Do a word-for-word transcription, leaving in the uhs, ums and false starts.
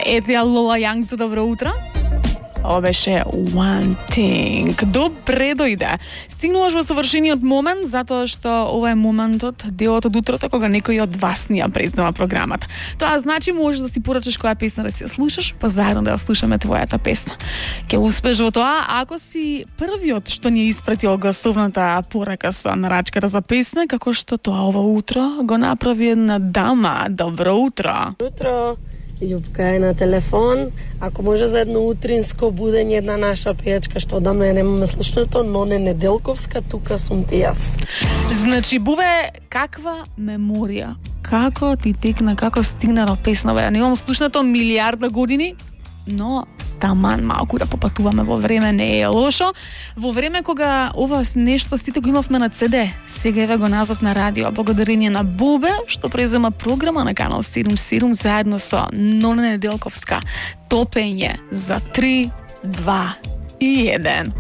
Ете ја Лола Јанг за добро утро. Ова беше One Thing. Добре дојде. Стигнуваш во совршениот момент, затоа што ова е моментот, делот од утрото, кога некој од вас ни ја презнава програмата. Тоа значи можеш да си порачаш која песна да си ја слушаш, па заедно да ја слушаме твојата песна. Ќе успеш во тоа ако си првиот што ни испратил гласовната порака со нарачката за песна, како што тоа ова утро го направи една дама. Добро утро. Утро. Љупка е на телефон. Ако може за едно утринско будење, една наша пејачка што одамна ја немаме слушнато, Ноне Неделковска, тука сум ти јас. Значи, Бубе, каква меморија? Како ти текна, како стигна до песнава? Ја немам слушнато милиарда години, но таман малку да попатуваме во време не е лошо. Во време кога ова нешто сите го имавме на Си Ди, сега еве го назад на радио, благодарение на Бубе што презема програма на канал седум седум заедно со Ноне Неделковска. Топење за три, два и еден.